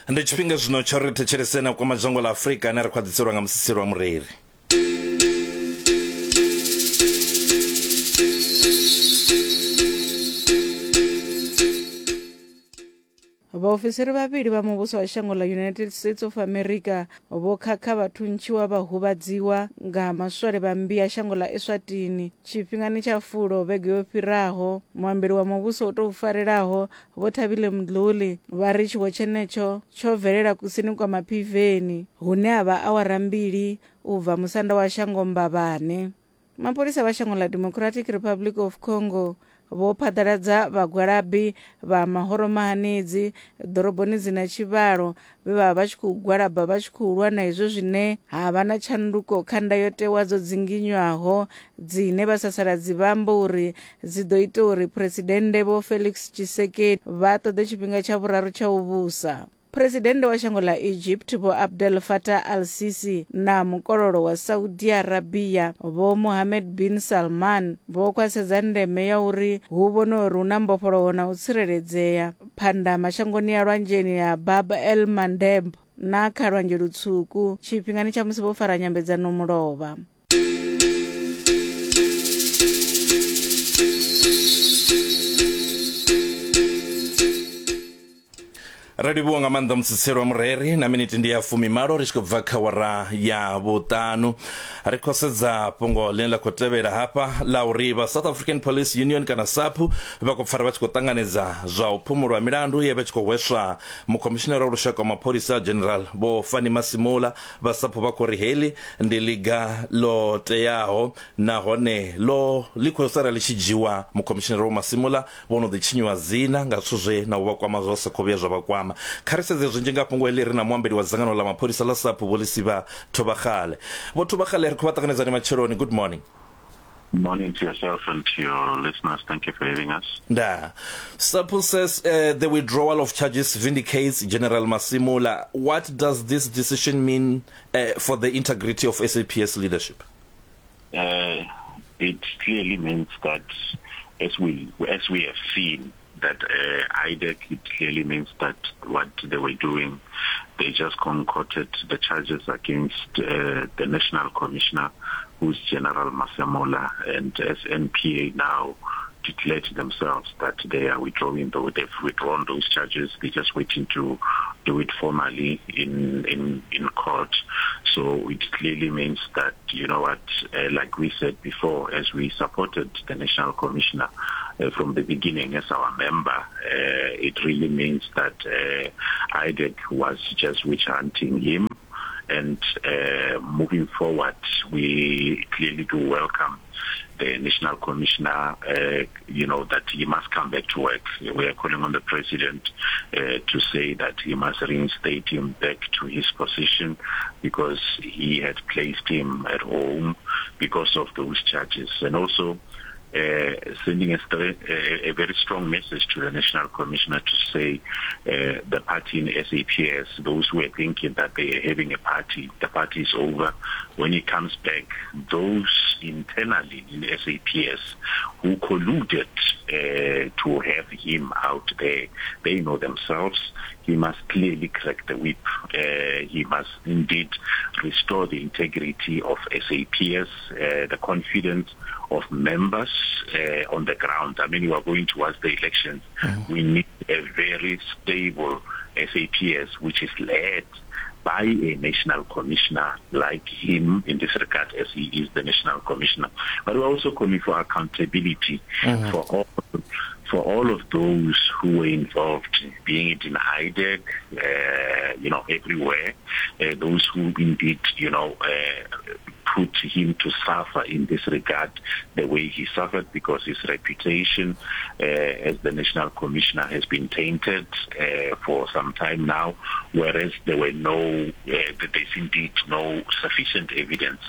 Ndi tshifhinga zwino tsha uri ri thetshelese na kwama dzhango ḽa Afrika ane ri khou a ḓiselwa nga musiselo wa mureri. Vhaofisiri vhavhili vha muvhuso wa shango ḽa United States of America vho khakha vha thuntshiwa vha huvhadziwa nga maswole vha mmbi ya shango ḽa Eswatini tshifhingani tsha fulo vhege yo fhiraho. Muambeli wa muvhuso u tou farelaho Vho Thabile Mdluli vha ri tshiwo tshenetsho tsho bvelela kusini kwa Maphiveni hune ha vha awara mbili u bva musanda wa shango Mbabane. Mapholisa vha shango ḽa Democratic Republic of Congo vho phaḓaladza vhagwalabi vha mahoro mahanedzi ḓoroboni dzi na tshivhalo vhe vha vha vha tshi khou gwalaba vha tshi khou lwa na izwo zwine ha vha na tshanduko kha ndayotewa dzo dzinginywaho dzine vhasasaladzi vha amba uri dzi ḓo ita uri Phresidennde Vho Felix Tshisekedi vha ṱoḓe tshifhinga tsha vhuraru tsha u vhusa. Phresidennde wa shango ḽa Egypt Vho Abdel Fattah al-Sisi na mukololo wa Saudi Arabia Vho Mohammed bin Salman vho khwaṱhisedza ndeme ya uri hu vhonwe uri hu na mbofholowo na u tsireledzea phanda mashangoni ya lwanzheni ya Bab el Mandeb na kha Lwanzhe Lutswuku tshifhingani tsha musi vho fara nyambedzano mulovha. Ri livhuwa nga maanḓa mutsitselo wa mureri na miniti ndi ya fumimalo ri tshi khou bva kha wara ya vhuṱanu. Ri khou sedza fhungo ḽine ḽa khou tevhela hafha ḽa uri vha South African Police Union kana SAPU vha khou pfara vha tshi khou ṱanganedza zwa u phumulwa milandu ye vha tshi khou hweswa mukhomishinara wa lushaka wa mapholisa General Vho Fannie Masemola. Vha SAPU vha khou ri heḽi ndi ḽiga ḽo teaho nahone ḽo ḽi khou sala ḽi tshi dzhiwa. Mukhomishinara Vho Masemola Vho no ḓi tshinyiwa dzina nga zwithu zwe na u vha kwama zwa sa khou vhuya zwa vha kwama. Kha ri sedze zwinzhi nga fhungo heḽi ri na muambeli wa dzangano ḽa mapholisa ḽa SAPU Vho Lisiba Thobakgale. Vho Thobakgale ri khou vha ṱanganedza ni matsheloni. Good morning. Morning to yourself and to your listeners. Thank you for having us. Ndaa. SAPU says the withdrawal of charges vindicates General Masemola. What does this decision mean for the integrity of SAPS leadership? It clearly means that as we as we have seen that IDAC, it clearly means that what they were doing, they just concocted the charges against the National Commissioner, who's General Masemola, and as NPA now declared themselves that they are withdrawing, though they've withdrawn those charges, they're just waiting to do it formally in, in, in court. So it clearly means that, you know what, like we said before, as we supported the National Commissioner from the beginning as our member, it really means that IDEC was just witch hunting him. And moving forward, we clearly do welcome the National Commissioner, you know, that he must come back to work. We are calling on the President to say that he must reinstate him back to his position, because he had placed him at home because of those charges. And also sending a very strong message to the National Commissioner to say the party in SAPS, those who are thinking that they are having a party, the party is over. When he comes back, those internally in SAPS who colluded to have him out there, they know themselves. He must clearly crack the whip. He must indeed restore the integrity of SAPS, the confidence of members on the ground. I mean, we are going towards the elections. We need a very stable SAPS, which is led by a national commissioner like him in this regard, as he is the national commissioner. But we're also calling for accountability for all of those who were involved, being it in IDEC, you know, everywhere, those who indeed, you know, put him to suffer in this regard the way he suffered, because his reputation as the national commissioner has been tainted for some time now, whereas there were no, there's indeed no sufficient evidence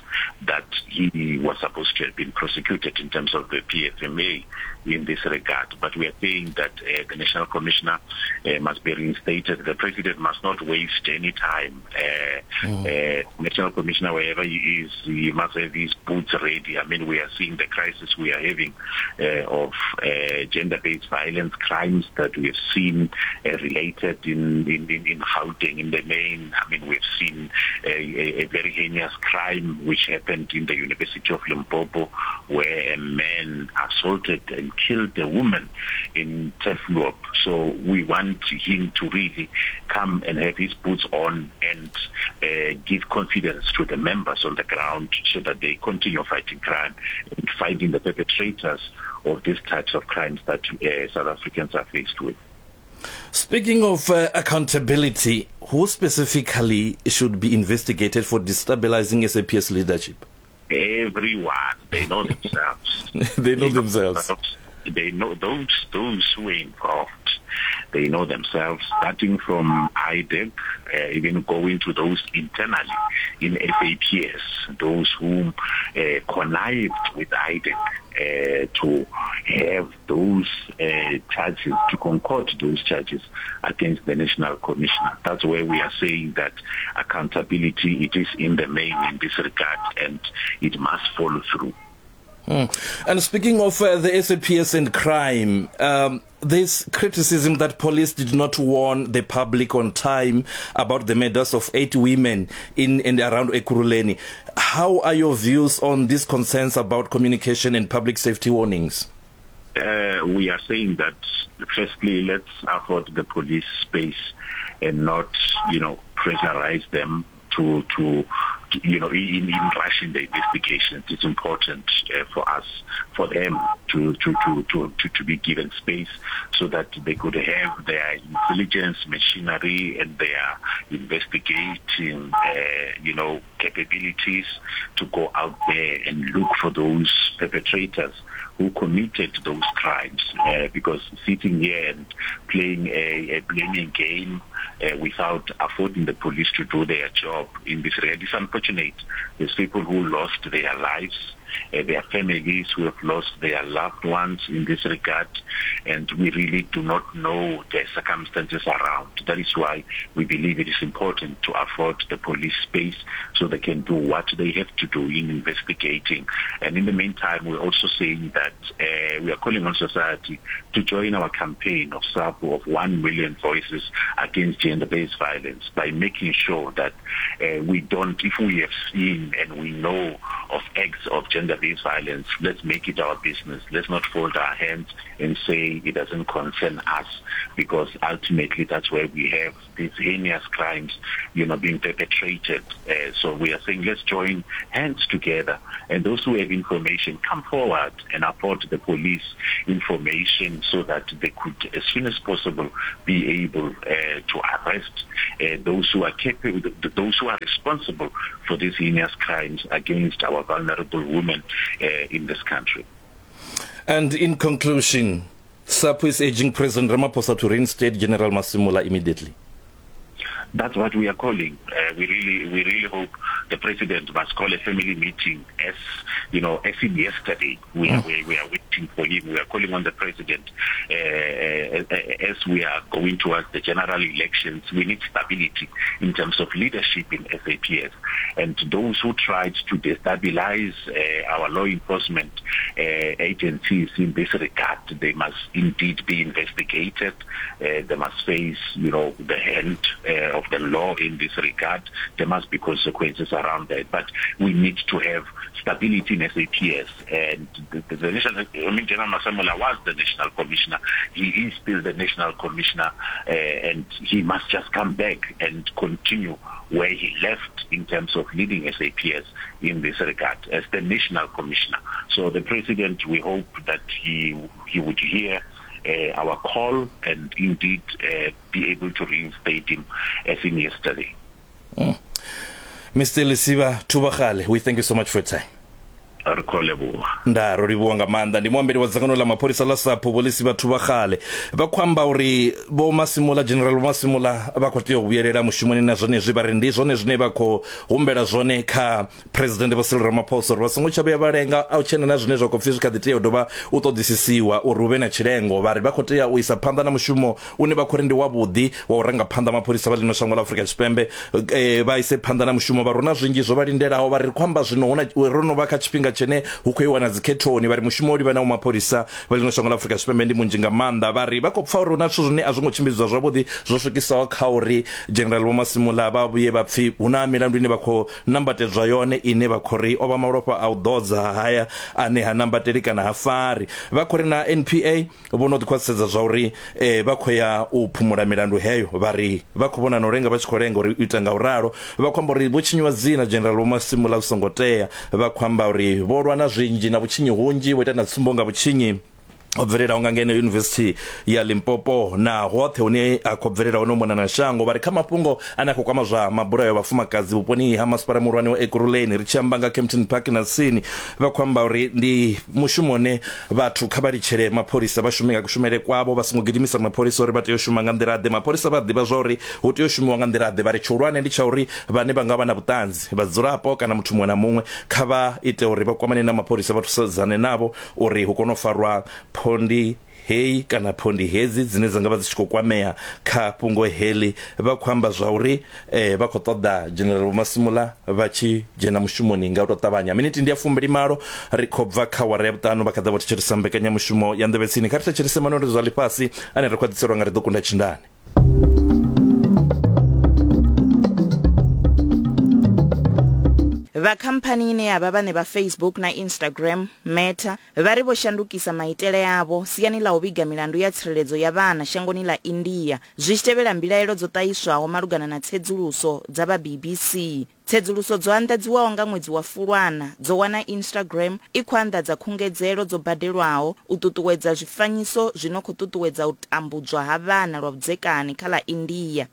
that he was supposed to have been prosecuted in terms of the PFMA in this regard. But we are saying that uh, the National Commissioner uh, must be reinstated. The President must not waste any time. Uh, mm. uh, National Commissioner, wherever he is, he must have his boots ready. I mean, we are seeing the crisis we are having uh, of uh, gender-based violence crimes that we have seen uh, related in, in, in, in Gauteng, in the main. I mean, we've seen a, a, a very heinous crime which happened in the University of Limpopo, where a man assaulted and killed a woman in Turfloop. So we want him to really come and have his boots on and uh, give confidence to the members on the ground so that they continue fighting crime and finding the perpetrators of these types of crimes that uh, South Africans are faced with. Speaking of uh, accountability, who specifically should be investigated for destabilizing SAPS leadership? Everyone. They know themselves. they know they themselves. Know they know those those who are involved. They know themselves, starting from IDEC, uh, even going to those internally in FAPS, those who uh, connived with IDEC uh, to have those uh, charges, to concord those charges against the National Commissioner. That's where we are saying that accountability, it is in the main in this regard and it must follow through. Mm. And speaking of uh, the SAPS and crime, um, this criticism that police did not warn the public on time about the murders of eight women in and around Ekurhuleni. How are your views on these concerns about communication and public safety warnings? Uh, we are saying that firstly, let's afford the police space and not, you know, pressurize them to to you know, in, in rushing the investigations, it's important uh, for us, for them to, to, to, to, to, to be given space so that they could have their intelligence machinery and their investigating, uh, you know, capabilities to go out there and look for those perpetrators who committed those crimes. Uh, because sitting here and playing a, a blaming game uh, without affording the police to do their job in this regard is unfortunate. There's people who lost their lives uh, their families who have lost their loved ones in this regard, and we really do not know the circumstances around. That is why we believe it is important to afford the police space so they can do what they have to do in investigating. And in the meantime, we're also saying that uh, we are calling on society to join our campaign of SAPO of 1 million voices against gender-based violence by making sure that uh, we don't, if we have seen and we know of acts of gender-based violence, let's make it our business. Let's not fold our hands and say it doesn't concern us, because ultimately that's where we have these heinous crimes, you know, being perpetrated. Uh, so we are saying let's join hands together, and those who have information, come forward and afford the police information so that they could, as soon as possible, be able uh, to arrest uh, those who are capable, those who are responsible for these heinous crimes against our vulnerable women uh, in this country. And in conclusion, SAPU is urging President Ramaphosa to reinstate General Masemola immediately. That's what we are calling. Uh, we really, we really hope the president must call a family meeting as, you know, as in yesterday. We are, mm. we, we are waiting for him. We are calling on the president uh, uh, as we are going towards the general elections. We need stability in terms of leadership in SAPS. And those who tried to destabilize uh, our law enforcement uh, agencies in this regard, they must indeed be investigated. Uh, they must face, you know, the hand uh, of the law in this regard. There must be consequences around that. But we need to have stability in SAPS. And the, the, the national, I mean, General Masemola was the national commissioner. He is still the national commissioner, uh, and he must just come back and continue where he left in terms of leading SAPS in this regard as the national commissioner. So the president, we hope that he he would hear uh, our call and indeed uh, be able to reinstate him as in yesterday. Mm. Mr. Lesiba Thubagale, we thank you so much for your time. Ri khou livhuwa. Ndaa, ro livhuwa nga maanḓa. Ndi muambeli wa dzangano ḽa mapholisa ḽa SAPO, Vho Lisi Vhathu-vha-Kgale. Vha khou amba uri Vho Masimula, General Vho Masimula vha khou tea u vhuyelela mushumoni na zwenezwi vha ri ndi zwone zwine vha khou humbela zwone kha Phresidennde Vho Cyril Ramaphosa uri vha songo tsha vhuya vha lenga a u tshena na zwine zwa khou pfi zwi kha ḓi tea u dovha u ṱoḓisisiwa uri hu vhe na tshilengo. Vha ri vha khou tea u isa phanḓa na mushumo une vha khou ri ndi wavhuḓi wa u ranga phanḓa mapholisa vha ḽino shango ḽa Afrika Tshipembe vha ise phanḓa na mushumo. Vha ri hu na zwinzhi zwo vha lindelaho, vha ri ri khou amba zwino hu na ro no vha kha tshifhinga tshine hu khou iwa na dzikhethoni, vha ri mushumo wo livhanaho mapholisa vha ḽino shango ḽa Afrika Tshipembe ndi munzhi nga maanḓa. Vha ri vha khou pfa uri hu na zwithu zwine a zwo ngo tshimbidzwa zwavhuḓi zwo swikisaho kha uri General Vho Masimula vha vhuye vha pfi hu na milandu ine vha khou nambatedzwa yone ine vha khou ri o vha malofha a u ḓodza haya ane ha nambateli kana ha fari. Vha khou ri na NPA Vho no ḓi khwaṱhisedza zwauri vha khou ya u phumula milandu heyo, vha ri vha khou vhona na u lenga vha tshi khou lenga uri u ita nga u ralo. Vha khou amba uri vho tshinyiwa dzina General Vho Masimula zwi songo tea. Vha khou amba uri vho lwa na zwinzhi na vhutshinyi hunzhi, vho ita na tsumbo nga vhutshinyi ho bvelelaho nga ngeno Yunivesithi ya Limpopo na hoṱhe hune ha khou bvelela hone u mona na shango. Vha ri kha mafhungo ane a khou kwama zwa mabulayo a vhafumakadzi vhuponi ha masipala muhulwane wa Ekurhuleni, ri tshi amba nga Kempton Park na tsini, vha khou amba uri ndi mushumo une Vhathu kha vha litshele mapholisa vha shume nga kushumele kwavho, vha songo gidimisa mapholisa uri vha tea u shuma nga nḓila-ḓe. Mapholisa vha a ḓivha zwauri hu tea u shumiwa nga nḓila-ḓe. Vha ri tshihulwane ndi tsha uri vhane vha nga vha na vhuṱanzi, vhadzulapo kana muthu muṅwe na muṅwe, kha vha ite uri vha kwamane na mapholisa vha thusedzane navho uri hu kone u farwa phondi heyi kana phondi hedzi dzine dza nga vha dzi tshi khou kwamea kha fhungo heḽi. Vha khou amba zwauri vha khou ṱoḓa General Vho Masimula vha tshi dzhena mushumoni nga u tou ṱavhanya. Miniti ndi ya fumbilimalo ri khou bva kha wara ya vhuṱanu vha kha ḓa vho thetshelesa mbekanyamushumo ya Nḓevhe Tsini. Kha ri thetshelese manweledzo a ḽifhasi ane ra khou a ḓiselwa nga Ri Ḓo Kunda Tshindane. Vha khamphani ine ya vha vhaṋe vha Facebook na Instagram, Meta, Vha ri vho shandukisa maitele avho siani ḽa u vhiga milandu ya tsireledzo ya vhana shangoni ḽa India zwi tshi tevhela mbilaelo dzo ṱahiswaho malugana na tsedzuluso dza vha BBC. Tsedzuluso dzo anḓadziwaho nga ṅwedzi wa Fulwana dzo wana Instagram i khou anḓadza khungedzelo dzo badelwaho u ṱuṱuwedza zwifanyiso zwi no khou ṱuṱuwedza u tambudzwa ha vhana lwa vhudzekani kha ḽa India.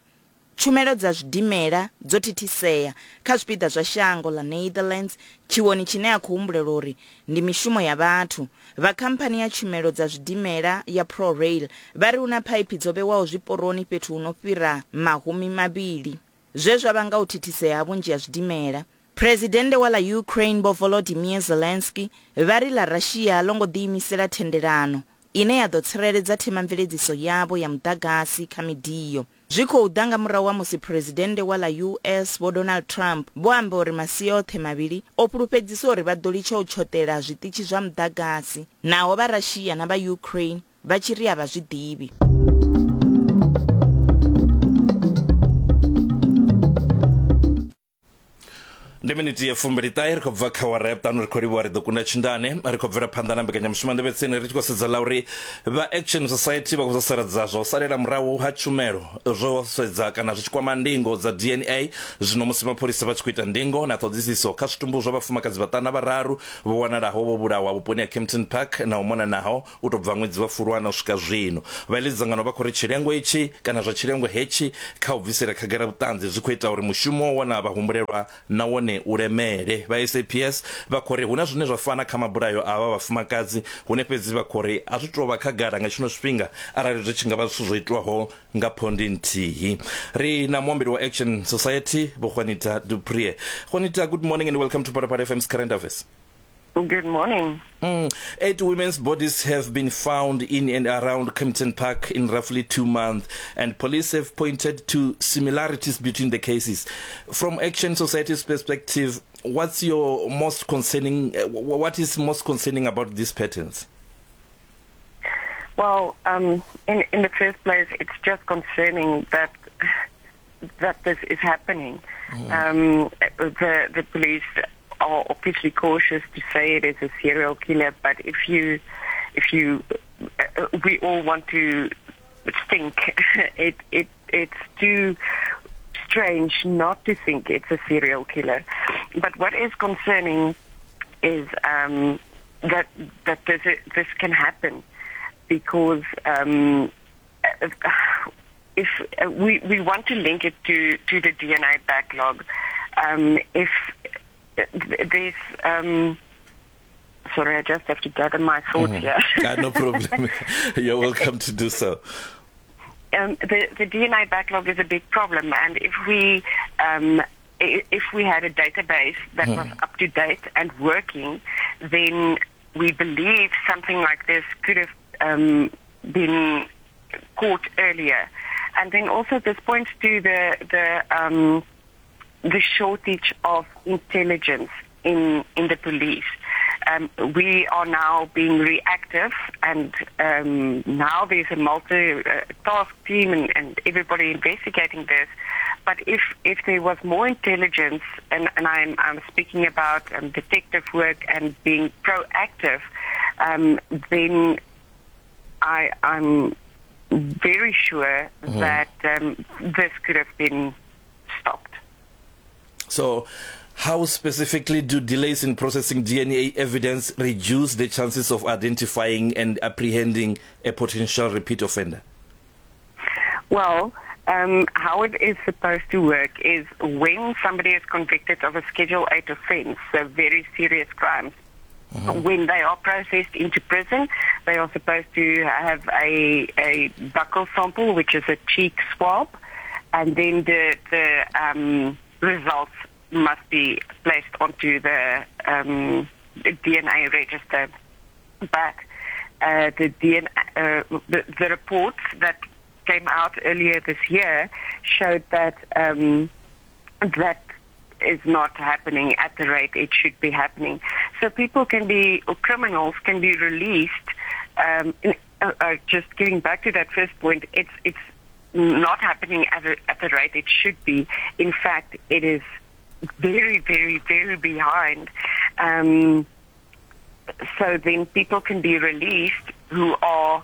Tshumelo dza zwidimela dzo thithisea kha zwipiḓa zwa shango ḽa Neitherlands tshiwoni tshine ha khou humbulelwa uri ndi mishumo ya vhathu. Vha khamphani ya tshumelo dza zwidimela ya ProRail vha ri hu na phaiphi dzo vhewaho zwiporoni fhethu hu no fhira mahumi mavhili zwe zwa vhanga u thithisea ha vhunzhi ha zwidimela. Phresidennde wa ḽa Ukraine Vho Volodymyr Zelensky vha ri ḽa Russia a ḽo ngo ḓiimisela thendelano ine ya ḓo tsireledza themamveledziso yavho ya muḓagasi kha midio. Zwi khou ḓa nga murahu ha musi Phresidennde wa ḽa US Vho Donald Trump vho amba uri masia oṱhe mavhili o fhulufhedzisa uri vha ḓo litsha u tshoṱela zwiṱitshi zwa muḓagasi naho vha Russia na vha Ukraine vha tshi ri a vha zwi ḓivhi. Ndi miniti ya fumbili ṱahe ri khou bva kha wara ya vhuṱanu ri khou livhuwa ri ḓo kunda tshindane ri khou bvela phanḓa na mbekanyamushumo nḓevhe tsini ri tshi khou sedza ḽa uri vha Action Society vha khou sasaladza zwa u salela murahu ha tshumelo zwo sedza kana zwi tshi kwama ndingo dza DNA zwino musi mapholisa vha tshi khou ita ndingo na ṱhoḓisiso kha zwitumbu zwa vhafumakadzi vhaṱanu na vhararu vho wanalaho vho vhulawa vhuponi ha Kempton Park na u mona naho u tou bva ṅwedzi wa Fulwana u swika zwino. Vha iḽi dzangano vha khou ri tshilengo itshi kana zwa tshilengo hetshi kha u bvisela khagala vhuṱanzi zwi khou ita uri mushumo wa u wana vhahumbulelwa na wone u lemele. Vha SAPS vha khou ri hu na zwine zwa fana kha mabulayo a avha vhafumakadzi hune fhedzi vha khou ri a zwi tou vha khagala nga tshino tshifhinga arali zwi tshi nga vha zwithu zwo itwaho nga phondi nthihi. Ri na muambeli wa Action Society Vho Juanita Du Preez. Juanita, good morning and welcome to Phalaphala FM's Current Affairs. Good morning. 8 women's bodies have been found in and around Kempton Park in roughly 2 months, and police have pointed to similarities between the cases. From Action Society's perspective, what's your most concerning, what is most concerning about these patterns? Well, in the first place, it's just concerning that this is happening. The police are obviously cautious to say it is a serial killer, but we all want to think it's too strange not to think it's a serial killer. But what is concerning is that this can happen, because if we want to link it to the DNA backlog, if there's Sorry, I just have to gather my thoughts here. No problem. You're welcome to do so. The DNA backlog is a big problem, and if we had a database that was up to date and working, then we believe something like this could have been caught earlier. And then also this points to the shortage of intelligence in the police. We are now being reactive, and now there's a multi-task team and everybody investigating this. But if there was more intelligence, and I'm speaking about detective work and being proactive, then I'm very sure that this could have been stopped. So how specifically do delays in processing DNA evidence reduce the chances of identifying and apprehending a potential repeat offender? Well, how it is supposed to work is when somebody is convicted of a Schedule 8 offense, so very serious crimes, when they are processed into prison, they are supposed to have a buccal sample, which is a cheek swab, and then the results must be placed onto the DNA register. But the DNA, the reports that came out earlier this year showed that that is not happening at the rate it should be happening. So people can be, or criminals can be released. Just getting back to that first point, it's not happening at the rate it should be. In fact, it is very, very, very behind. So then people can be released who are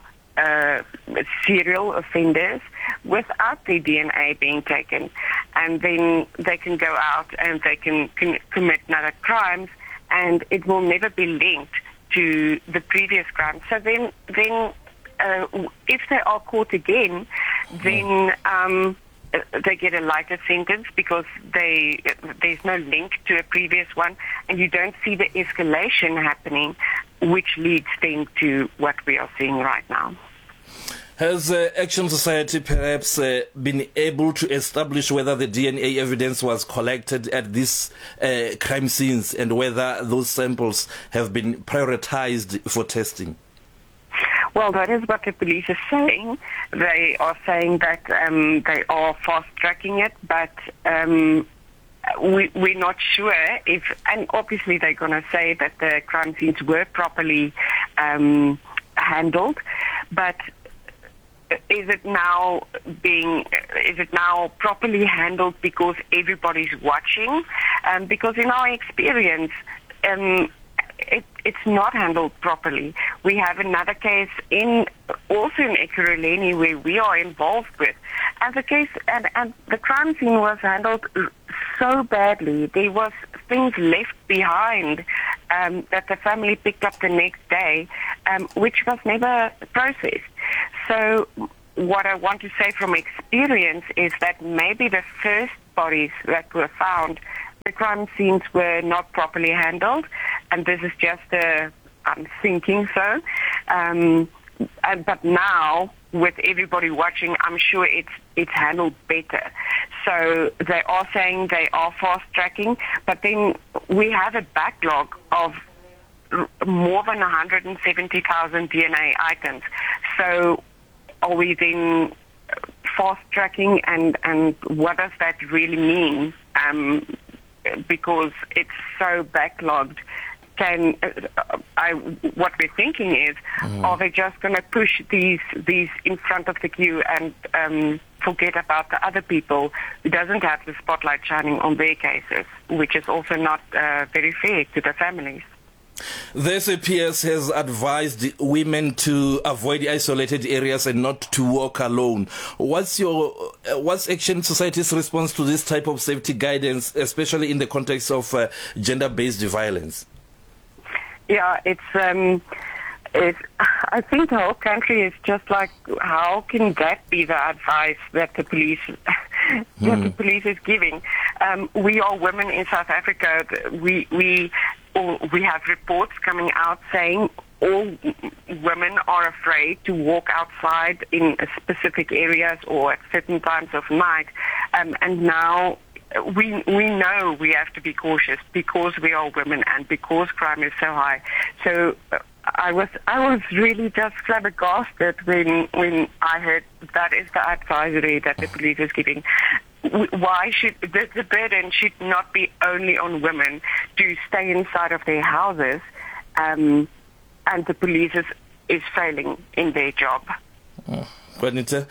serial offenders without their DNA being taken, and then they can go out and they can commit another crimes, and it will never be linked to the previous crime. So then if they are caught again, then they get a lighter sentence because there's no link to a previous one, and you don't see the escalation happening, which leads then to what we are seeing right now. Has Action Society perhaps been able to establish whether the DNA evidence was collected at these crime scenes and whether those samples have been prioritized for testing? Well, that is what the police are saying. They are saying that they are fast-tracking it, but we're not sure if, and obviously they're going to say that the crime scenes were properly handled, but is it now properly handled because everybody's watching? Because in our experience, it's not handled properly. We have another case also in Ekurhuleni where we are involved with, and the case and the crime scene was handled so badly. There was things left behind that the family picked up the next day, which was never processed. So what I want to say from experience is that maybe the first bodies that were found, the crime scenes were not properly handled, and this is just I'm thinking so. But now, with everybody watching, I'm sure it's handled better. So they are saying they are fast-tracking, but then we have a backlog of more than 170,000 DNA items. So are we then fast-tracking, and what does that really mean? Because it's so backlogged. What we're thinking is, are they just going to push these in front of the queue and forget about the other people who doesn't have the spotlight shining on their cases, which is also not very fair to the families. The SAPS has advised women to avoid isolated areas and not to walk alone. What's Action Society's response to this type of safety guidance, especially in the context of gender-based violence? Yeah, it's I think the whole country is just like, how can that be the advice that the police that the police is giving? We are women in South Africa. We All, we have reports coming out saying all women are afraid to walk outside in specific areas or at certain times of night. Um, and now we we know we have to be cautious because we are women and because crime is so high. So uh, I was I was really just flabbergasted when when I heard that is the advisory that the police is giving. Why should the, the burden should not be only on women to stay inside of their houses, um, and the police is, is failing in their job. Oh, Juanita,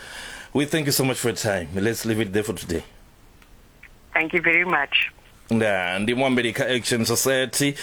we thank you so much for your time. Let's leave it there for today. Thank you very much. Nda ndi muambeli kha Action Society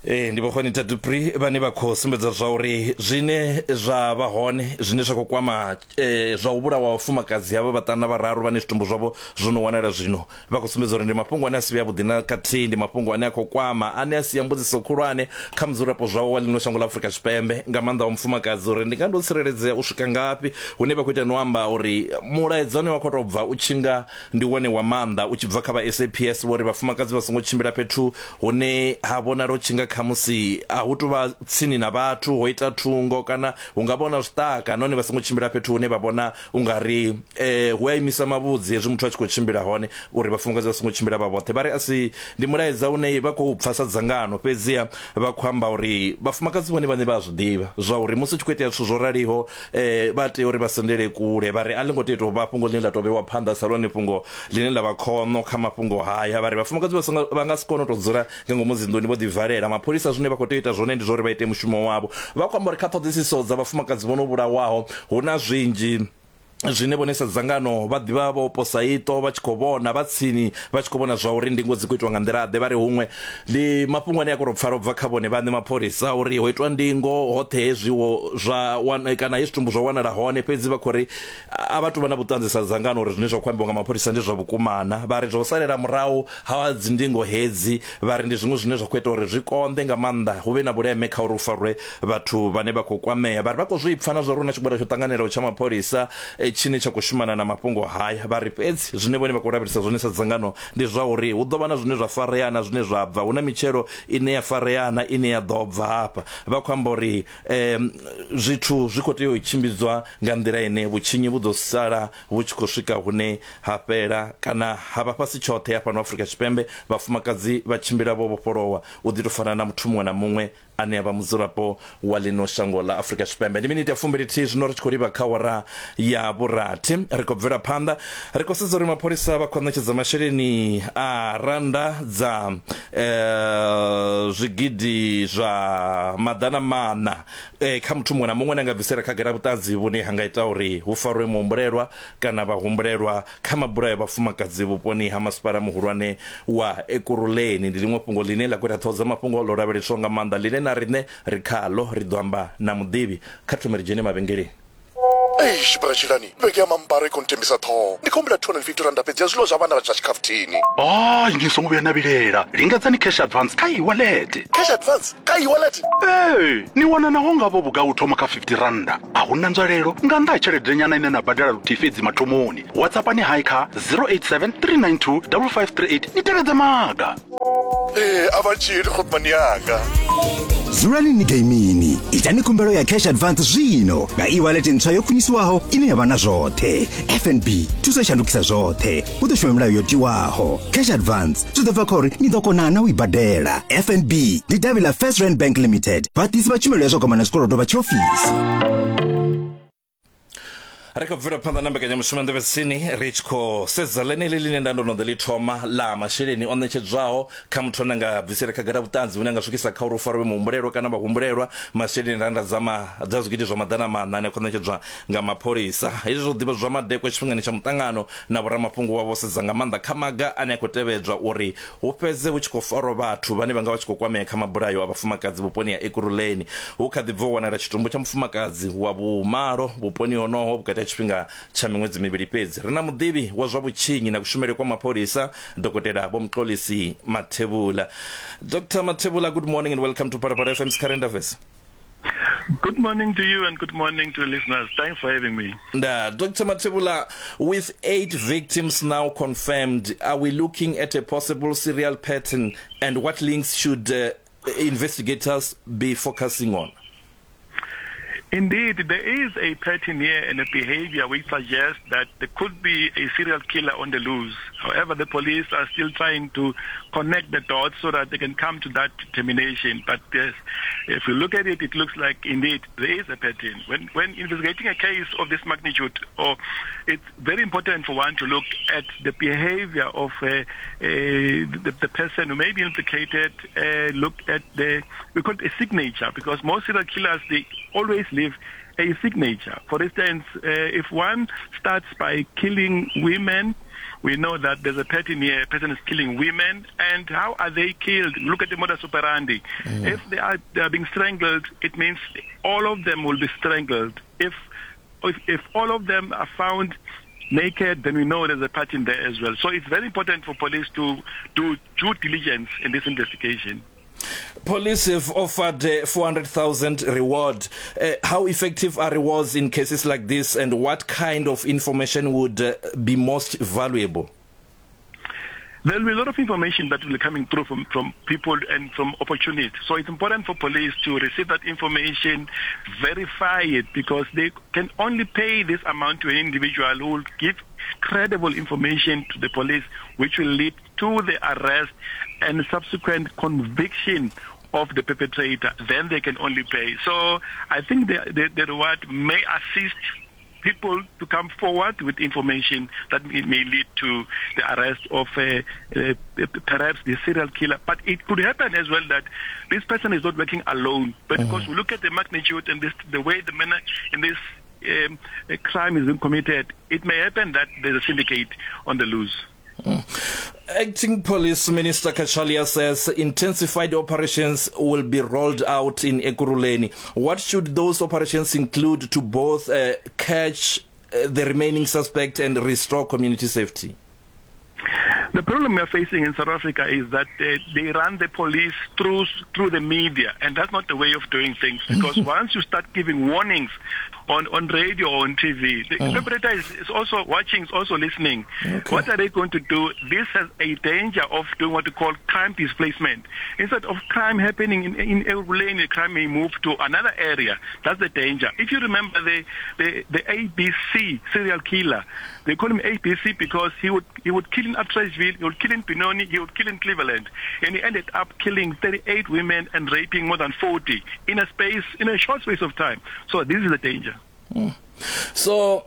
eh ndi vho Dupri vhane vha khou sumbedza zwa uri zwine zwa vha hone zwine zwa khou kwama eh, zwa u vhulawa vhafumakadzi havha vhaṱanu vhararu vhane zwitumbu zwavho zwo no wanala zwino vha khou sumbedza uri ndi mafhungo ane a si vhe avhuḓi na khathihi ndi mafhungo ane a khou kwama ane a sia mbudziso khulwane kha mudzulapo zwawo wa ḽino shango ḽa Afrika Tshipembe nga maanḓa wa mufumakadzi uri ndi nga ndo tsireledzea u swika ngafhi hune vha khou ita no amba uri mulaedza une wa khou tou bva u tshinga ndi wone wa maanḓa u tshi bva kha vha SAPS vho ri vhafumakadzi vha songo tshimbila fhethu hune ha vhonala u tshi nga khamusi a hu tou vha tsini na vhathu ho ita thungo kana hu nga vhona zwiṱaka nahone vha songo tshimbila fhethu hune vha vhona u nga ri eh, hu a imisa mavhudzi hezwi muthu a tshi khou tshimbila hone uri vhafumakadzi vha songo tshimbila vha vhoṱhe vha ri a si ndi mulaedza une vha khou pfa sa dzangano fhedziha vha khou amba uri vhafumakadzi vhone vhaṋe vha a zwi ḓivha zwa uri musi hu tshi khou itea zwithu zwo raliho eh, vha tea uri vha sendele kule vha ri a ḽi ngo tea u tou vha fhungo ḽine ḽa tou vhewa phanḓa sa lone fhungo ḽine ḽa vha khoṋo kha mafhungo haya vha ri vhafumakadzi vha nga si kone u tou dzula nga ngomu dzinḓuni vho ḓivalela mapholisa zwine vha khou tea u ita zwone ndi zwa uri vha ite mushumo wavho vha khou amba uri kha ṱhoḓisiso dza vhafumakadzi vho no vhulawaho hu na zwinzhi zwine vhone sa dzangano vha ḓivha vho posa iṱo vha tshi khou vhona vha tsini vha tshi khou vhona zwa uri ndingo dzi khou itwa nga nḓila ḓe vha ri huṅwe ndi mafhungo ane a khou tou pfala ubva kha vhone vhaṋe mapholisa uri ho itwa ndingo hoṱhe hezwiwo zwa wana kana hezwi zwitumbu zwa wanala hone fhedzi vha khou ri a vha tou vha na vhuṱanzi sa dzangano uri zwine zwa khou ambiwa nga mapholisa ndi zwa vhukumana vha ri zwa u salela murahu ha dzindingo hedzi vha ri ndi zwiṅwe zwine zwa khou ita uri zwi konḓe nga maanḓa hu vhe na vhuleme kha uri hu farwe vhathu vhane vha khou kwamea. Vha ri vha khou zwi pfa na zwa uri hu na tshigwada tsho ṱanganelaho tsha mapholisa tshine tsha khou shumana na mafhungo haya. Vha ri fhedzi zwine vhone vha khou lavhelesa zwone sa dzangano ndi zwa uri hu ḓo vha na zwine zwa farea na zwine zwa bva, hu na mitshelo ine ya farea na ine ya ḓo bva hafha. Vha khou amba uri zwithu zwi khou tea u tshimbidzwa nga nḓila ine vhutshinyi vhu ḓo sala vhu tshi khou swika hune ha fhela kana ha vha fhasi tshoṱhe hafhano Afrika Tshipembe, vhafumakadzi vha tshimbila vho vhofholowa u ḓi tou fana na muthu muṅwe na muṅwe ane a vha mudzulapo wa ḽino shango ḽa Afrika Tshipembe. Ndi miniti ya fumbilithihi zwino ri tshi khou livha kha awara ya vhurathi. Ri khou bvela phanḓa ri khou sedza uri mapholisa vha khou ṋetshedza masheleni a rannda dza zwigidi zwa maḓana maṋa kha muthu muṅwe na muṅwe ane a nga bvisela khagala vhuṱanzi vhune ha nga ita uri hu farwe muhumbulelwa kana vhahumbulelwa kha mabulayo a vhafumakadzi vhuponi ha masipala muhulwane wa Ekurhuleni. Ndi ḽiṅwe fhungo ḽine ḽa khou ita ṱhoho dza mafhungo ḽo lavheleswaho nga maanḓa ḽine na riṋe ri khaḽo ri ḓo amba na muḓivhi. Kha thome ri dzhene mavhengeleni. Eish bratshilani vhege ya mambaro i khou ntembisa ṱhoho ndi khou humbela 250 randa fhedzi ya zwiḽiwa zwa vhana zwa tshikhafuthini Hai, ni songo vhuya na vhilela. Lingedzani cash advance kha e-wallet. cash advance kha e-wallet Ee, ni wana naho nga vho vhugai u thoma kha 50 randa. A hu na nzwalelo nga nnḓa ha tshelede nyana ine na badela luthihi fhedzi mathomoni. WhatsAppani hai kha 087 392 5538 ni tevhedze maga. Ee, a vha tshili khotmani yanga. Dzulani ni geimini. Itani khumbelo ya cash advance zwino nga e-wallet ntswa yo khwiniswaho ine ya vha na zwoṱhe. FNB thuso i shandukisa zwoṱhe. Hu ḓo shuma milayo yo tiwaho. Cash advance zwi ḓo bva kha uri ni ḓo kona na u i badela. FNB ndi davhi ḽa First Rand Bank Limited, vhaḓisi vha tshumelo ya zwa gwama na zwikolodo vha tshiofisi. Ri khou bvela phanḓa na mbekanyamushumo ya Nḓevhe Tsini ri tshi khou sedza ḽeneḽi ḽine nda ndo no ḓi ḽi thoma ḽa masheleni o ṋetshedzwaho kha muthu ane nga bvisela khagala vhuṱanzi vhune a nga swikisa kha uri u farwe muhumbulelwa kana vhahumbulelwa masheleni randa dza ma dza zwigidi zwa maḓana maṋa ane a khou ṋetshedzwa nga mapholisa. Hezwi zwo ḓivhadzwa madekwe tshifhingani tsha muṱangano na vhoramafhungo wa vho sedza nga maanḓa kha maga ane a khou tevhedzwa uri hu fhedze hu tshi khou farwa vhathu vhane vha nga vha tshi khou kwamea kha mabulayo a vhafumakadzi vhuponi ha Ekurhuleni. Hu kha ḓi bva u wanala tshitumbu tsha mufumakadzi wa vhumalo vhuponi honoho vhukati ha tshifhinga tsha miṅwedzi mivhili fhedzi. Ri na muḓivhi wa zwa vhutshinyi na kushumele kwa mapholisa, Dokotela Vho Mxolisi Mathebula. Dr Mathebula, good morning and welcome to Phalaphala FM's Current Affairs. Good morning to you and good morning to listeners. Thanks for having me. Nda, Dr. Mathebula, with 8 victims now confirmed, are we looking at a possible serial pattern, and what links should investigators be focusing on? Indeed, there is a pattern here and a behavior which suggests that there could be a serial killer on the loose. However, the police are still trying to connect the dots so that they can come to that determination. But yes, if you look at it, it looks like indeed there is a pattern. When, when investigating a case of this magnitude, or it's very important for one to look at the behavior of uh, uh, the, the person who may be implicated, uh, look at the, we call it a signature, because most serial killers, they always leave a signature. For instance, uh, if one starts by killing women, we know that there's a pattern here, a person is killing women, and how are they killed? Look at the modus operandi. Mm. If they are, they are being strangled, it means all of them will be strangled. If, if, if all of them are found naked, then we know there's a pattern there as well. So it's very important for police to do due diligence in this investigation. Police have offered uh, 400,000 reward. Uh, how effective are rewards in cases like this and what kind of information would uh, be most valuable? There will be a lot of information that will be coming through from, from people and from opportunists. So it's important for police to receive that information, verify it, because they can only pay this amount to an individual who will give credible information to the police, which will lead to the arrest and subsequent conviction of the perpetrator. Then they can only pay. So I think the, the, the reward may assist people to come forward with information that may lead to the arrest of uh, uh, perhaps the serial killer. But it could happen as well that this person is not working alone. But mm. because we look at the magnitude and this, the way the manner in this um, crime is being committed, it may happen that there's a syndicate on the loose. Mm. Acting Police Minister Kachalia says intensified operations will be rolled out in Ekurhuleni. What should those operations include to both uh, catch uh, the remaining suspect and restore community safety? The problem we are facing in South Africa is that they, they run the police through through the media, and that's not the way of doing things. Because once you start giving warnings on, on radio or on TV, the mm. perpetrator is, is also watching, is also listening. Okay. What are they going to do? This has a danger of doing what we call crime displacement. Instead of crime happening in in Ekurhuleni, the crime may move to another area. That's the danger. If you remember the the, the ABC serial killer, they call him ABC because he would he would kill in Atteridgeville, he would kill in Benoni, he would kill in Cleveland, and he ended up killing 38 women and raping more than 40 in a space in a short space of time. So this is the danger. Mm. So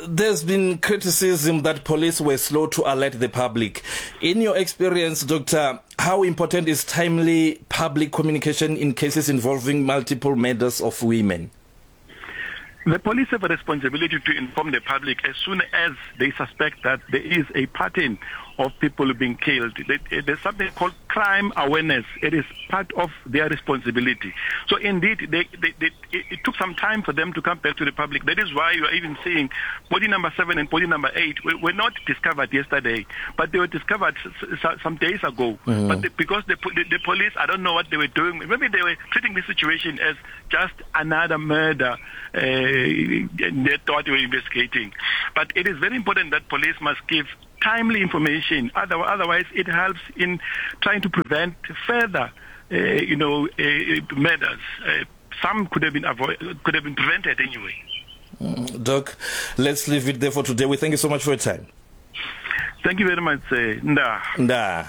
there's been criticism that police were slow to alert the public. In your experience, Doctor, how important is timely public communication in cases involving multiple murders of women? The police have a responsibility to inform the public as soon as they suspect that there is a pattern of people being killed. There's something called crime awareness. It is part of their responsibility. So indeed, they, they, they, it took some time for them to come back to the public. That is why you are even seeing body number seven and body number eight were, were not discovered yesterday, but they were discovered some days ago. Mm. But the, because the, the, the police, I don't know what they were doing. Maybe they were treating this situation as just another murder. Uh, they thought they were investigating. But it is very important that police must give timely information. Otherwise, it helps in trying to prevent further, uh, you know, uh, murders. Uh, some could have been avoid, could have been prevented anyway. Mm, Doc, let's leave it there for today. We thank you so much for your time. Thank you very much. Uh, nda. Nda.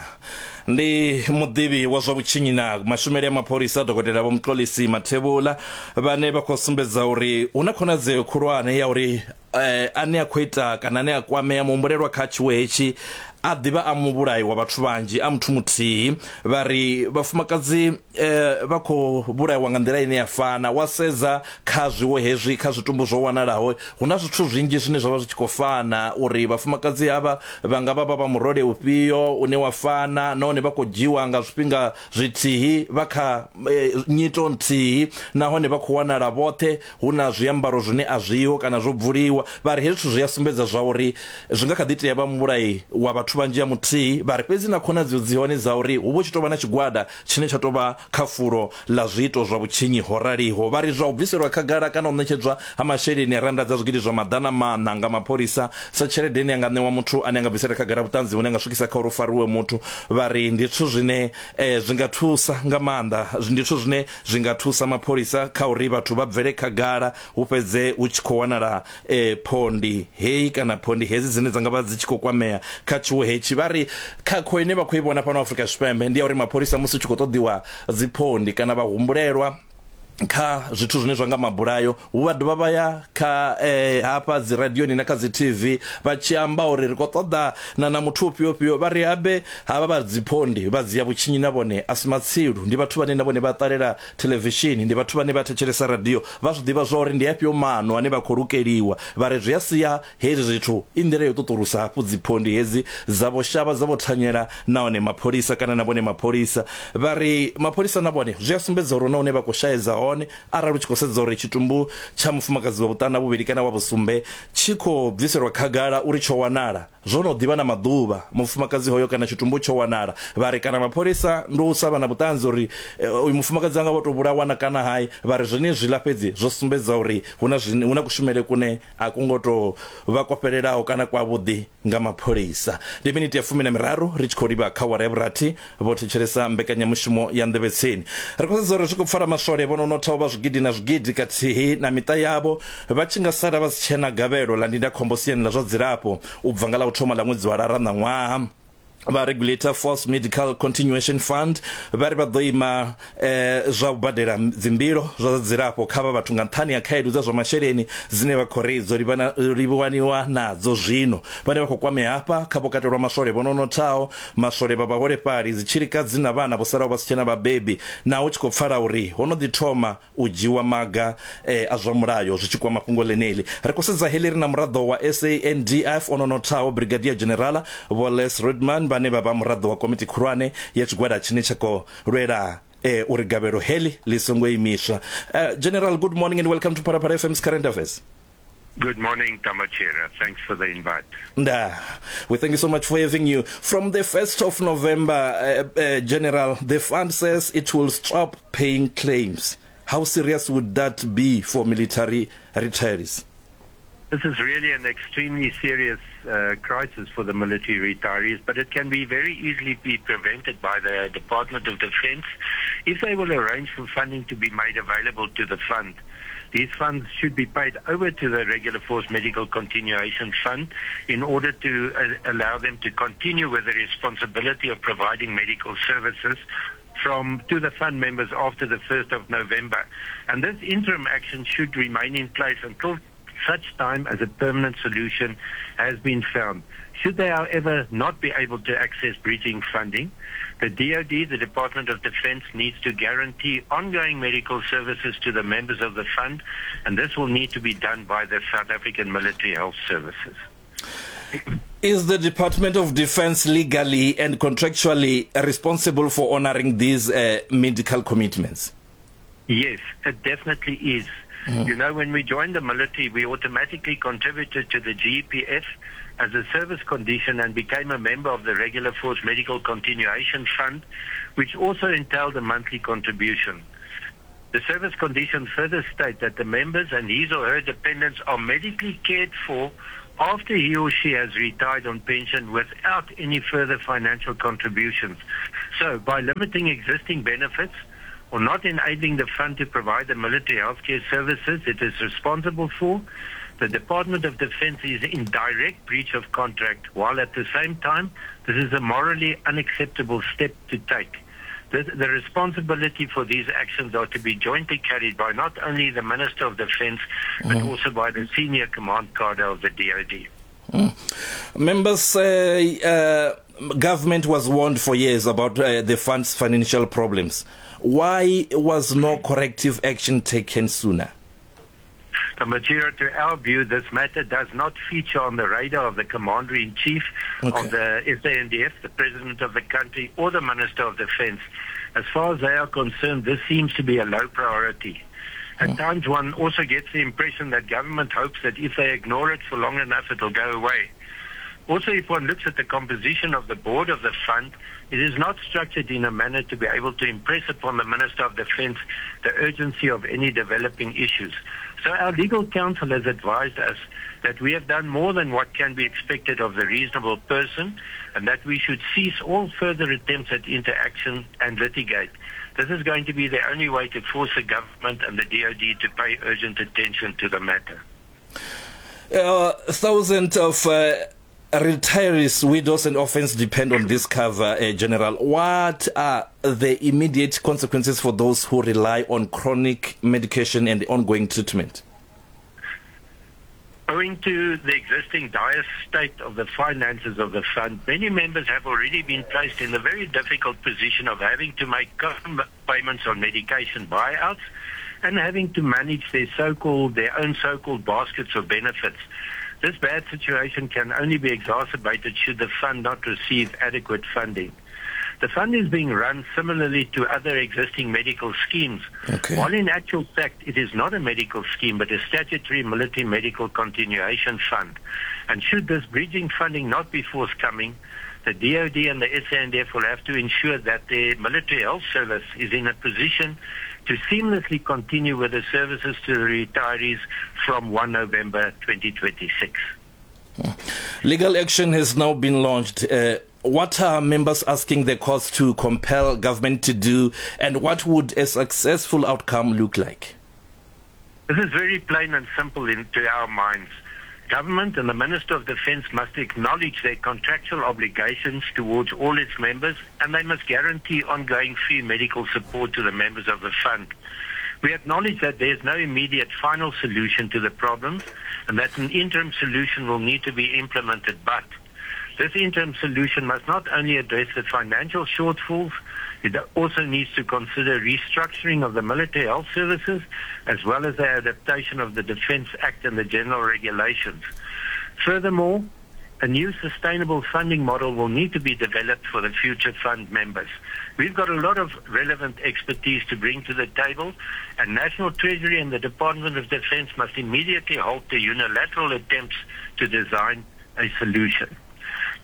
Ndi muḓivhi wa zwa vhutshinyi na mashumele a mapholisa dokotela vho Mxolisi Mathebula vhane vha khou sumbedza uri hu na khonadzeo khulwane ya uri eh, ane a khou ita kana ane a kwamea muhumbulelwa kha tshiwo hetshi a ḓivha a muvhulayi wa vhathu vhanzhi a muthu muthihi vha ri vhafumakadzi eh, vha khou vhulaiwa nga nḓila ine ya fana wa sedza kha zwiwo hezwi kha zwitumbu zwo wanalaho hu na zwithu zwinzhi zwine zwa vha zwi tshi khou fana uri vhafumakadzi havha vha nga vha vha vha murole ufhio une wa fana nahone vha khou dzhiwa nga zwifhinga zwithihi vha kha e, nyito nthihi nahone vha khou wanala vhoṱhe hu na zwiambaro zwine a zwiho kana zwo bvuliwa vha ri hezwi zwithu zwi a sumbedza zwa uri zwi nga kha ḓi tea vha muvhulayi wa vhathu vhanzhi ya muthihi vha ri fhedzi na khonadzeo dzi hone dza uri hu vho tshi tou vha na tshigwada tshine tsha tou vha kha fulo ḽa zwiito zwa vhutshinyi ho raliho. Vha ri zwa u bviselwa khagala kana u ṋetshedzwa ha masheleni a rannda dza zwigidi zwa maḓana maṋa nga mapholisa sa tshelede ine ya nga ṋewa muthu ane a nga bvisela khagala vhuṱanzi vhune ha nga swikisa kha uri hu fariwe muthu, vha ri ri ndi zwithu zwine eh, zwi nga thusa nga maanḓa ndi zwithu zwine zwi nga thusa mapholisa kha uri vhathu vha bvele khagala hu fhedze hu tshi khou wanala eh, phondi heyi kana phondi hedzi dzine dza nga vha dzi tshi khou kwamea kha tshiwo hetshi. Vha ri khakho ine vha khou i vhona fhano Afrika Tshipembe ndi ya uri mapholisa musi hu tshi khou ṱoḓiwa dziphondi kana vhahumbulelwa kha zwithu zwine zwa nga mabulayo hu vha dovha vha ya kha eh, hafha dzi radioni na kha dzi TV vha tshi amba uri ri khou ṱoḓa na na muthu ufhio ufhio vha ri habe havha vha dziphondi vha dzia vhutshinyi na vhone a si matsilu ndi vhathu vhane na vhone vha ṱalela thelevishini ndi vhathu vhane vha thetshelesa radio vha zwi ḓivha zwa uri ndi afhio maano ane vha khou lukeliwa vha ri zwi a sia Hezwi zwithu i nḓila ya u ṱuṱulusa hafhu dziphondi hedzi dza vho shavha dza vho thanyela nahone mapholisa kana na vhone mapholisa vha ri mapholisa na vhone zwi a sumbedza uri hu na hune vha khou shaedza hone arali u tshi khou sedza uri tshitumbu tsha mufumakadzi wa vhuṱanu na vhuvhili kana wa vhusumbe tshi khou bviselwa khagala uri tsho wanala zwo no ḓivha na maḓuvha mufumakadzi hoyo kana tshitumbu tsho wanala vha ri kana mapholisa ndi u sa vha na vhuṱanzi uri uyu mufumakadzi anga vho tou vhulawa na kana hai vha ri zwenezwiḽa fhedzi zwo sumbedza uri hu na hu na kushumele kune a ku ngo tou vha kwo fhelelaho kana kwavhuḓi nga mapholisa. Ndi miniti ya fumi na miraru ri tshi khou livha kha awara ya vhurathi vho thetshelesa mbekanyamushumo ya Nḓevhe Tsini. Ri khou sedza uri zwi khou pfala maswole vho no nothaho vha zwigidi na zwigidi kathihi na miṱa yavho vha tshi nga sala vha si tshena gavhelo ḽa ndindakhombo siani ḽa zwa dzilafho u bva nga ḽa u thoma ḽa ṅwedzi wa Lara ṋaṅwaha. Vha Regulator Force Medical Continuation Fund vha ri vha ḓo ima eh, zwa u badela dzimbilo zwa zwa dzilafho kha vha vhathu nga nṱhani ha khaedu dza zwa masheleni dzine vha khou ri dzo livhana livhaniwa nadzo zwino. Vhane vha khou kwamea hafha kha vho katelwa maswole vho no nothaho, maswole vha vhaholefhali, dzitshilikadzi na vhana vho salaho vha si tshena vhabebi, naho hu tshi khou pfala uri ho no ḓi thoma u dzhiwa maga a zwa mulayo zwi tshi kwama fhungo ḽeneḽi. Ri khou sedza heḽi ri na muraḓo wa SANDF o no nothaho Brigadier Generala Vho Les Rudman vhane vha vha muraḓo wa komiti khulwane ya tshigwada tshine tsha khou lwela uri gavhelo heḽi ḽi songo imiswa. General, good morning and welcome to Phalaphala FM's Current Affairs. Good morning, Tamachira. Thanks for the invite. Nda. We thank you so much for having you. From the 1st of November, uh, uh, General, the fund says it will stop paying claims. How serious would that be for military retirees? This is really an extremely serious uh, crisis for the military retirees, but it can be very easily be prevented by the Department of Defense if they will arrange for funding to be made available to the fund. These funds should be paid over to the Regular Force Medical Continuation Fund in order to uh, allow them to continue with the responsibility of providing medical services from to the fund members after the 1st of November. And this interim action should remain in place until such time as a permanent solution has been found. Should they, however, not be able to access bridging funding, the DoD, the Department of Defense, needs to guarantee ongoing medical services to the members of the fund, and this will need to be done by the South African Military Health Services. Is the Department of Defense legally and contractually responsible for honoring these uh, medical commitments? Yes, it definitely is. Mm. You know, when we joined the military, we automatically contributed to the GPF as a service condition and became a member of the Regular Force Medical Continuation Fund, which also entailed a monthly contribution. The service conditions further state that the members and his or her dependents are medically cared for after he or she has retired on pension without any further financial contributions. So, by limiting existing benefits or not enabling the fund to provide the military healthcare services it is responsible for, the Department of Defense is in direct breach of contract, while at the same time, this is a morally unacceptable step to take. The, the responsibility for these actions are to be jointly carried by not only the Minister of Defense, but mm. also by the senior command cadre of the DOD. Mm. Members say uh, government was warned for years about uh, the fund's financial problems. Why was no corrective action taken sooner? The material to our view, this matter does not feature on the radar of the Commander-in-Chief okay. of the SANDF, the President of the country, or the Minister of Defense. As far as they are concerned, this seems to be a low priority. At mm. times, one also gets the impression that government hopes that if they ignore it for long enough, it'll go away. Also, if one looks at the composition of the board of the fund, it is not structured in a manner to be able to impress upon the Minister of Defense the urgency of any developing issues. So our legal counsel has advised us that we have done more than what can be expected of the reasonable person and that we should cease all further attempts at interaction and litigate. This is going to be the only way to force the government and the DOD to pay urgent attention to the matter. Thousands of retirees, widows and orphans depend on this cover, General. What are the immediate consequences for those who rely on chronic medication and ongoing treatment? Owing to the existing dire state of the finances of the fund, many members have already been placed in the very difficult position of having to make payments on medication buyouts and having to manage their so-called their own so-called baskets of benefits. This bad situation can only be exacerbated should the fund not receive adequate funding. The fund is being run similarly to other existing medical schemes. Okay. While in actual fact it is not a medical scheme but a statutory military medical continuation fund. And should this bridging funding not be forthcoming, the DOD and the SANDF will have to ensure that the military health service is in a position to seamlessly continue with the services to the retirees from 1 November 2026. Legal action has now been launched. What are members asking the courts to compel government to do, and what would a successful outcome look like? This is very plain and simple in, to our minds. Government and the Minister of Defence must acknowledge their contractual obligations towards all its members and they must guarantee ongoing free medical support to the members of the fund. We acknowledge that there is no immediate final solution to the problems and that an interim solution will need to be implemented, but this interim solution must not only address the financial shortfalls, it also needs to consider restructuring of the military health services as well as the adaptation of the Defence Act and the general regulations. Furthermore, a new sustainable funding model will need to be developed for the future fund members. We've got a lot of relevant expertise to bring to the table, and National Treasury and the Department of Defence must immediately halt the unilateral attempts to design a solution.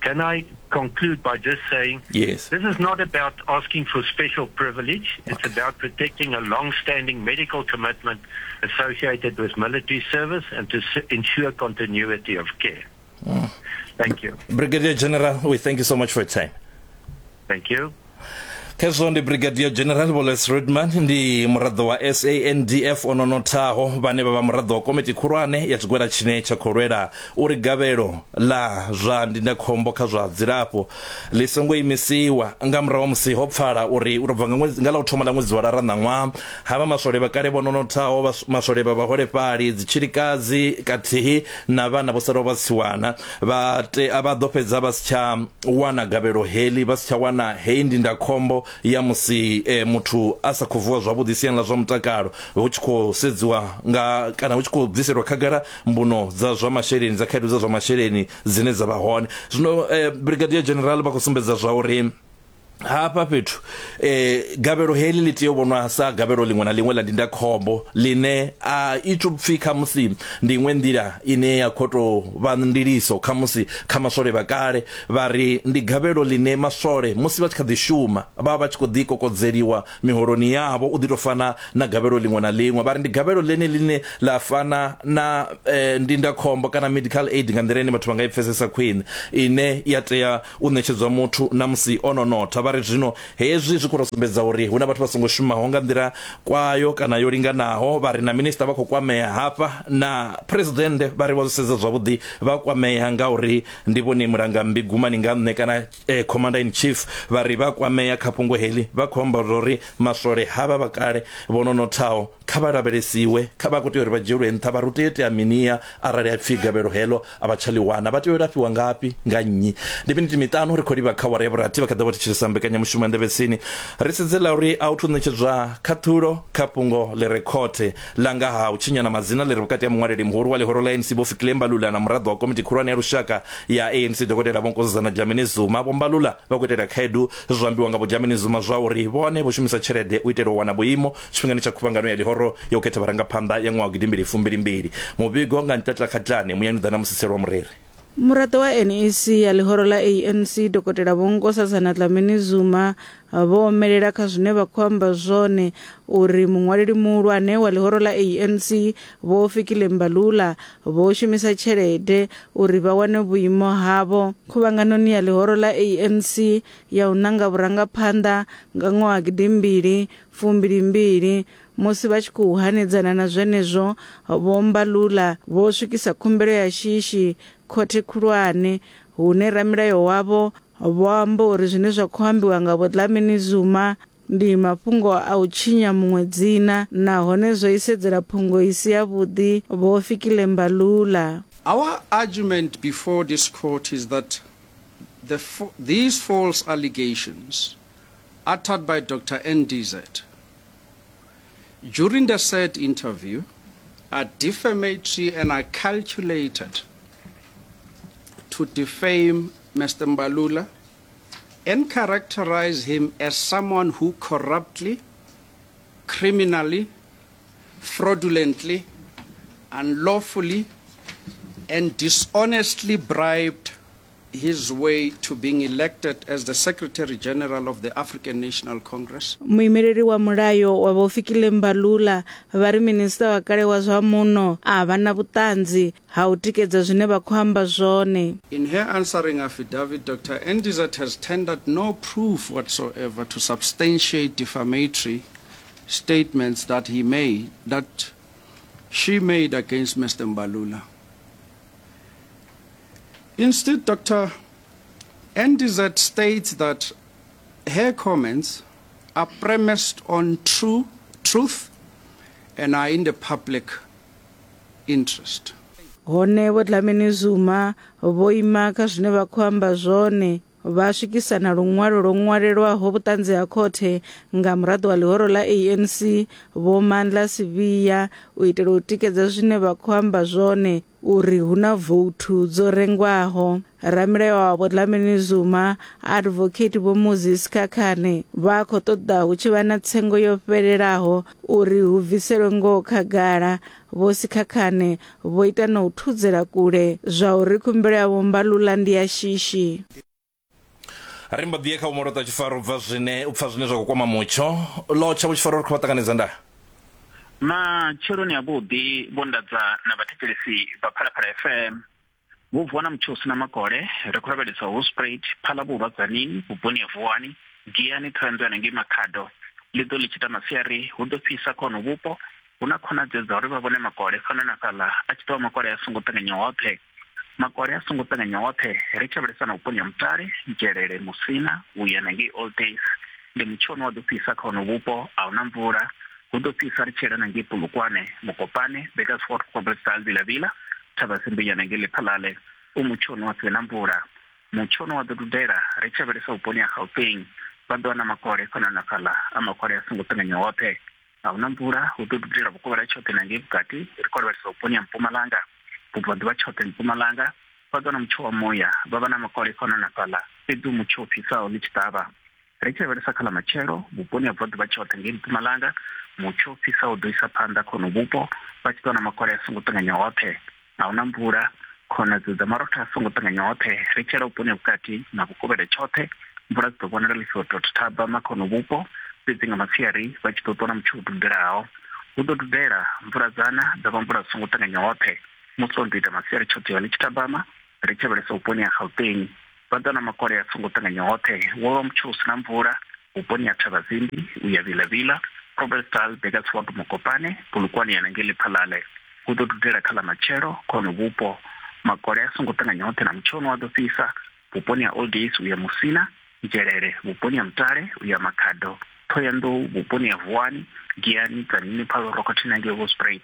Can I conclude by just saying yes. This is not about asking for special privilege. It's okay. about protecting a long-standing medical commitment associated with military service and to ensure continuity of care. Mm. Thank you. Brigadier General, we thank you so much for your time. Thank you. Khezwo ndi Brigadier General Vho Les Rudman ndi muraḓo wa SANDF o no nothaho vhane vha vha muraḓo wa komiti khulwane ya tshigwada tshine tsha khou lwela uri gavhelo ḽa zwa ndindakhombo kha zwa dzilafho ḽi songo imisiwa nga murahu ha musi ho pfala uri u tou bva nga ḽa u thoma ḽa ṅwedzi wa lara ṋaṅwaha havha maswole vha kale vho no nothaho maswole vha vhaholefhali dzitshilikadzi kathihi na vhana vho salaho vha tsiwana vha tea vha ḓo fhedza vha si tsha wana gavhelo heḽi vha si tsha wana heyi ndindakhombo ya musi eh, muthu a sa khou vuwa zwavhuḓi siani ḽa zwa mutakalo hu tshi khou sedziwa nga kana hu tshi khou bviselwa khagala mbuno dza zwa masheleni dza khaedu dza zwa masheleni dzine dza vha hone zwino eh, brigadier general vha khou sumbedza zwa uri hafha fhethu eh gavhelo heḽi ḽi tea u vhonwa sa gavhelo ḽiṅwe na ḽiṅwe ḽa ndindakhombo ḽine a i thu pfi khamusi ndi iṅwe nḓila ine ya khou tou vha ndiliso khamusi kha maswole vha kale vha ri ndi gavhelo ḽine maswole musi vha tshi kha ḓi shuma vha vha tshi khou ḓi kokodzeliwa miholoni yavho u ḓi tou fana na gavhelo ḽiṅwe na ḽiṅwe vha ri ndi gavhelo ḽene ḽine ḽa fana na eh, ndindakhombo kana medical aid nga nḓila ine vhathu vha nga i pfesesa khwine ine ya tea u ṋetshedzwa muthu na musi o no notha. Vha ri zwino hezwi zwi khou tou sumbedza uri hu na vhathu vha songo shumaho nga nḓila kwayo kana yo linganaho. Vha ri na minisiṱa vha khou kwamea hafha na phuresidennde vha ri vha zwi sedza zwavhuḓi vha kwamea ngauri ndi vhone mulangammbi gumani nga nṋe kana eh, commander in chief vha ri vha kwamea kha fhungo heḽi vha khou amba uri maswole havha vha kale vho no nothaho kha vha lavhelesiwe kha vha khou tea uri vha dzhielwe nṱha vha ri u tea itea minia arali ha pfi gavhelo heḽo a vha tsha ḽi wana vha tea u lafhiwa ngafhi nga nnyi ndi miniti miṱanu ri khou livha kha wara ya vhurathi vha kha ḓo vha thetshelesa mbekanyamushumo ya nḓevhetsini ri sedze ḽa uri a u thu ṋetshedzwa khaṱhulo kha fhungo ḽi re khothe ḽa nga ha u tshinyana madzina ḽi re vhukati ha muṅwaleli muhulu wa ḽihoro ḽa ANC Vho Fikile Mbalula na muraḓo wa komiti khulwane ya lushaka ya ANC Dokotela Vho Nkosazana Dlamini Zuma Vho Mbalula vha khou itela khaedu zwo ambiwa nga Vho Dlamini Zuma zwa uri vhone vho shumisa tshelede u itela u wana vhuimo tshifhingani tsha khuvhangano ya ḽihoro ya u khetha vharangaphanḓa ya ṅwaha wa gidimbili fumbili mbili. Muvhigo nga Ntlatla Khatlane, Muyani u ḓa na Musiselwa Mureri. Muraḓo wa NEC ya ḽihoro ḽa ANC Dokotela Vho Nkosazana Dlamini Zuma vho omelela kha zwine vha khou amba zwone uri muṅwaleli muhulwane wa ḽihoro ḽa ANC Vho Fikile Mbalula vho shumisa tshelede uri vha wane vhuimo havho khuvhanganoni ya ḽihoro ḽa ANC ya u nanga vhurangaphanḓa nga ṅwaha gidimbili fumbili mbili. Musi vha tshi khou hanedzana na zwenezwo, Vho Mbalula vho swikisa khumbelo ya shishi khothe khulwane, hune ramilayo wavho vho amba uri zwine zwa khou ambiwa nga Vho Dlamini Zuma ndi mafhungo a u tshinya muṅwe dzina nahone zwo isedzela phungo i si yavhuḓi Vho Fikile Mbalula. Our argument before this court is that the, these false allegations uttered by Dr. NDZ during the said interview are defamatory and are calculated to defame Mr. Mbalula and characterize him as someone who corruptly, criminally, fraudulently, unlawfully, and dishonestly bribed his way to being elected as the Secretary General of the African National Congress. Muimeleli wa mulayo wa Vho Fikile Mbalula vha ri minisiṱa wa kale wa zwa muno a vha na vhuṱanzi ha u tikedza zwine vha khou amba zwone. In her answering affidavit, Dr Ndizet has tendered no proof whatsoever to substantiate defamatory statements that he made, that she made against Mr Mbalula. Instead, Dr. Ndizet states that her comments are premised on true truth and are in the public interest. Hone Vho Dlamini Zuma vho ima kha zwine vha khou amba zwone vha swikisa na luṅwalo lwo ṅwalelwaho vhuṱanzi ha khothe nga muraḓo wa ḽihoro ḽa ANC Vho Mandla Sibiya u itela u tikedza zwine vha khou amba zwone uri hu na vouthu dzo rengwaho. Ramilayo wa Vho Dlamini Zuma, Advocate Vho Muzi Sikhakhane vha khou ṱoḓa hu tshi vha na tsengo yo fhelelaho uri hu bviselwe ngoho khagala. Vho Sikhakhane vho ita na u thudzela kule zwa uri khumbelo ya Vho Mbalula ndi ya shishi. Ri mbo ḓi ye kha vhomolota tshifaro bva zwine u pfa zwine zwa khou kwama mutsho lotsha vho tshifaro ri khou vha ṱanganedza nda matsheloni avhuḓi vho ndadza na vhathetshelesi vha phalaphala fm vho vuwa na mutsho u sina makole ri khou lavhelesa hosprait phalavhurwa dzanini vhuponi ha vuwani giyani ṱhohoyanḓou hanengei makhado ḽi ḓo ḽi tshi ita masiari hu ḓo fhisa kha hono vhupo hu na khonadzeo dza uri vha vhone makole fhano na fhaḽa a tshi ḓo vha makole a songo ṱanganya hoṱhe Makole a songo ṱanganya oṱhe ri tshi lavhelesa na vhuponi ha Mutale, Nzhelele, Musina u ya na ngei Old Days. Ndi mutsho une wa ḓo fhisa kha hono vhupo, a hu na mvula. Hu ḓo fhisa ri tshi yela na ngei Polokwane, Mokopane, Burgersfort, Groblersdal, Vila-Vila, Thabazimbi u ya na ngei Lephalale. U mutsho une wa si vhe na mvula. Mutsho une wa ḓo dudela ri tshi lavhelesa vhuponi ha Gauteng, vha ḓo wana makole fhano na fhaḽa, a makole a songo ṱanganya oṱhe. A hu na mvula, hu ḓo dudela vhukovhela tshoṱhe na ngei vhukati, ri khou lavhelesa vhuponi ha Mpumalanga, vhubvaḓuvha tshoṱhe Mpumalanga, vha ḓo wana mutsho wa muya, vha vha na makole fhano na fhaḽa, fhedzi hu mutsho u fhisaho ḽi tshi ṱavha. Ri tshi lavhelesa kha ḽa matshelo, vhuponi ha vhubvaḓuvha tshoṱhe ngei Mpumalanga, mutsho u fhisaho u ḓo isa phanḓa kha honovhu vhupo, vha tshi ḓo wana makole a songo ṱanganya hoṱhe. A hu na mvula, khonadzeo dza marotha a songo ṱanganya hoṱhe. Ri tshi yela vhuponi ha vhukati na vhukovhela tshoṱhe, mvula dzi ḓo vhonala ḽi tshi tou thabama kha honovhu vhupo, fhedzi nga masiari vha tshi ḓo ṱwa na mutsho u dudelaho. Hu ḓo dudela, mvula dza na, dza vha mvula dzi songo ṱanganya hoṱhe. Musi o no tou ita masiari tshoṱhe ya ḽi tshi thabama, ri tshi lavhelesa vhuponi ha Gauteng, vha ḓo na makole a songo ṱanganya hoṱhe. Wo vha mutsho u si na mvula vhuponi ha Thabazimbi u ya Vila-Vila, Groblersdal, Burgersfort, Mokopane, Polokwane ya ngei Lephalale. Hu ḓo dudela kha ḽa matshelo kha hono vhupo. Makole a songo ṱanganya hoṱhe na mutsho une wa ḓo fhisa vhuponi ha Old Days u ya Musina, Nzhelele, vhuponi ha Mutale u ya Makhado, Ṱhohoyanḓou, vhuponi ha Vuwani, Giyani, Tzaneen, Paarl, Rockton na ngei Hoedspruit.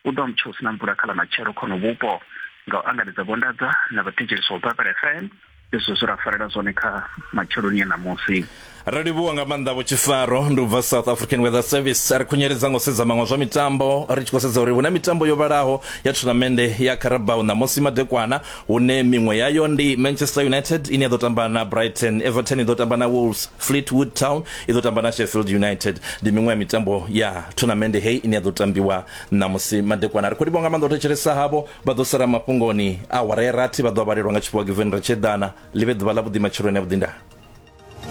Hu ḓo vha mutsho u si na mvula kha ḽa matshelo kha honovhu vhupo. Nga u angaredza Vho Ndadza na vhathetshelesi vha Phalaphala FM, Ndi zwithu zwe ra farela zwone kha matsheloni a ṋamusi. Ro livhuwa nga maanḓa Vho Tshifaro ndi u bva South African Weather Service. Ri khunyeledza ngo sedza maṅwe zwa mitambo ri tshi khou sedza uri hu na mitambo yo vhalaho ya thunamennde ya Carabao ṋamusi madekwana hune miṅwe yayo ndi Manchester United ine ya ḓo tamba na Brighton, Everton i ḓo tamba na Wolves, Fleetwood Town i ḓo tamba na Sheffield United. Ndi miṅwe ya mitambo ya thunamennde heyi ine ya ḓo tambiwa ṋamusi madekwana. Ri khou livhuwa nga maanḓa u thetshelesa havho vha ḓo sala mafhungoni a awara ya rathi vha ḓo vhalelwa nga tshifhiwa Given Ratsheḓana. Ḽi vhe ḓuvha ḽa vhuḓi matsheloni a vhuḓi ndaa.